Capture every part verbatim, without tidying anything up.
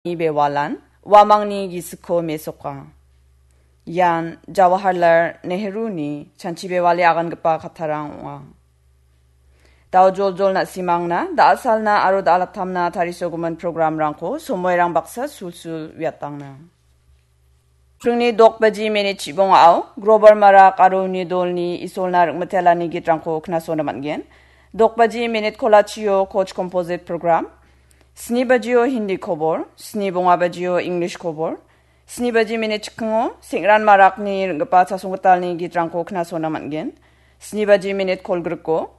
Bewalan uamangni gisikko mesoka. Ian Jawaharlal Nehruni chanchi bewale agangipa kattarang ong·a. Dao joljol na·simangna, da·asalna aro da·alatamna tarisogimin programrangko somoirang baksa sulsul uiatangna. Pringni dok baji minit chibongao Grover Marak aro uni dolni Isolna ring·mitelani gitrangko knasona man·gen. Dok baji minit kolachio Koch Composite Program, sni bajio Hindi kobor, sni bonga bajio English kobor, sni baji minit chikingo Sengran Marakni ring·gipa chasonggitalni gitrangko knasona man·gen. Sni baji minit kolgriko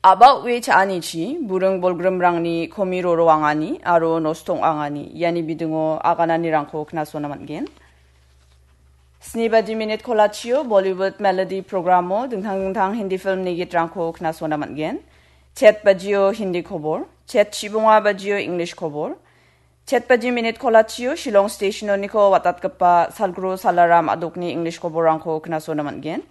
a·ba o·e cha·anichi buring bolgrimrangni komi roro angani aro nosto ong·angani iani bidingo agananirangko knasona man·gen. Sni baji minit kolachio Bollywood Melody programo dingtang dingtang Hindi filmni gitrangko knasona man·gen. Chet bajio Hindi kobor, chet chibonga bajio English kobor, chet baji minit kolachio Shillong Stationoniko watatgipa Salgro Salaram Adokni English koborrangko knasona man·gen.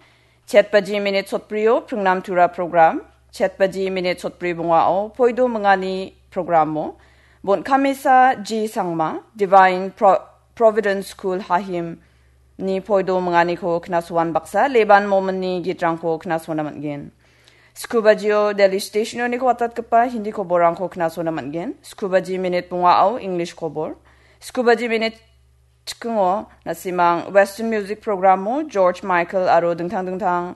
Chet baji minit sotbrio Pringnam Tura program, chet baji minit sotbri bongao Poido Mingani programo Bonkamesa G Sangma, Divine Pro-, Providence School Hahim ni Poido Minganiko knasoan baksa Leban Mominni gitrangko knasona man·gen. Sku bajio Delhi Stationoniko watatgipa Hindi koborrangko knasona man·gen. Sku baji minit bongao English kobor. Sku baji minit chikingo na·simang Western Music programo George Michael aro dingtang dingtang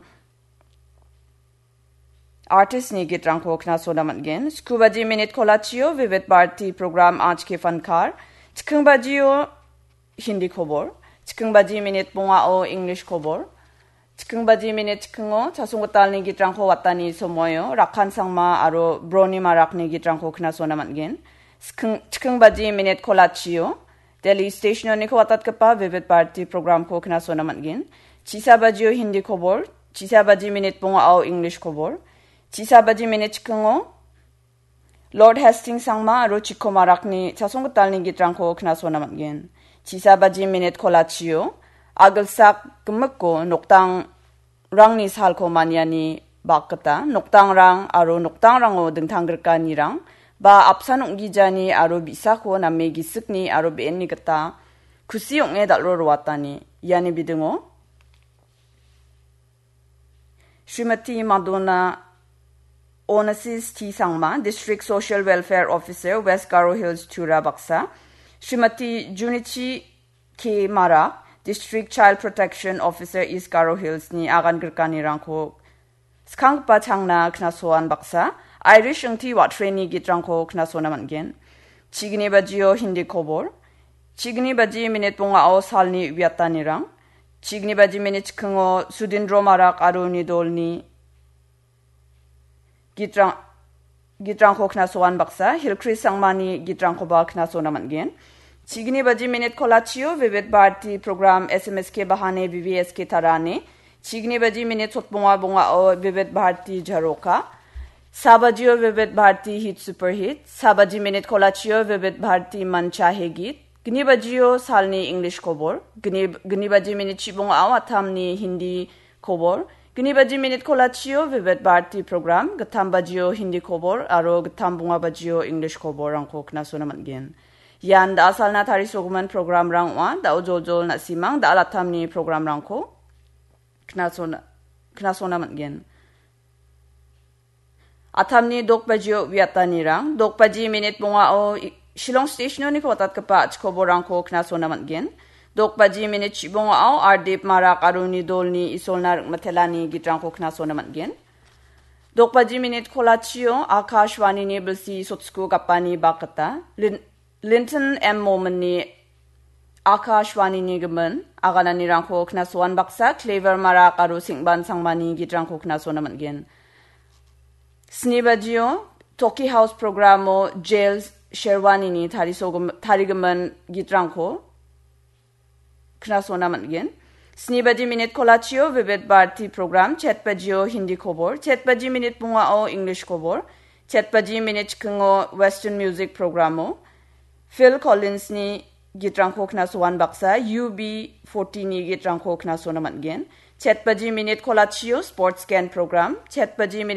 artistni gitrangko knasona man·gen. Sku baji minit kolachio Vivid Bharati program Aaj Ke Fankar. Chiking bajio Hindi kobor. Chiking baji minit bongao English kobor. Chiking baji minit chikingo chasonggitalni gitrangko watani somoio Rakhan Sangma aro Broni Marakni gitrangko knasona man·gen. Chiking, chiking baji minit kolachio Delhi Stationoniko watatgipa Vivid Bharati programko knasona man·gen. Chisa bajio Hindi kobor, chisa baji minit bongao English kobor, chisa baji minit chikingo Lord Hastings Sangma aro Chikko Marakni chasonggitalni gitrangko knasona man·gen. Chisa baji minit kolachio agilsak gimikko nokdangrangni salko maniani bakgita nokdangrang aro noktangrango dingtang grikanirang ba apsan ong·gijani aro bi·sako name gisikni aro be·enni gita kusi ong·e dal·ro roatani. Iani bidingo Srimati Madonna Onassis T Sangma, District Social Welfare Officer, West Garo Hills, Tura baksa, Srimati Junichi K Mara, District Child Protection Officer, East Garo Hills ni agan grikanirangko skanggipa changna knasoan baksa, Irish ingti wa·treni gitrangko knasona man·gen. Chigni bajio Hindi kobor, chigni baji minit bongao salni uiatanirang, chigni baji minit chikingo Sudindro Marak aro uni dolni gitrang-, gitrangko knasoan baksa, Hilchris Sangmani gitrangkoba knasona man·gen. Chigni baji minit kolachio Vivid Bharati program S M S K bahane V V S K tarane. Chigni baji minit sotbonga bongao Vivid Bharati Jaroka. Sa bajio Vivid Bharati Hit Super Hit. Sa baji minit kolachio Vivid Bharati Mancha He Git. Gni bajio salni English kobor. Gni, gni baji minit chibongao atamni Hindi kobor. Gni baji minit kolachio Vivid Bharati program. Gittam bajio Hindi kobor. Aro gittam bonga bajio English koborrangko knasona man·gen. Ian da·asalna tarisogimin programrang ong·a. Da·o joljol na·simang da·alatamni programrangko knasona, knasona man·gen. Atamni dok bajio uiatanirang, dok baji minit bongao i-, Shillong Stationoniko watatgipa a·chikoborangko knasona man·gen. Dok baji minit chibongao Ardip Marak aro uni dolni Isolna ring·mitelani gitrangko knasona man·gen. Dok baji minit kolachio Akashvanini bilsi sotsko gapani bakgita Lin-, Linton M Mominni Akashvanini gimin agananirangko knasoan baksa Clever Marak aro Singban Sangmani gitrangko knasona man·gen. Sni bajio Toki House programo Jail Sherwanini tarisogim-, tarigimin gitrangko knasona man·gen. Sni baji minit kolachio Vivid Bharati program, chet bajio Hindi kobor, chet baji minit bongao English kobor, chet baji minit chikingo Western Music programo Phil Collinsni gitrangko knasoan baksa U B forty-ni gitrangko knasona man·gen. Chet baji minit kolachio Sports Can program, chet baji minit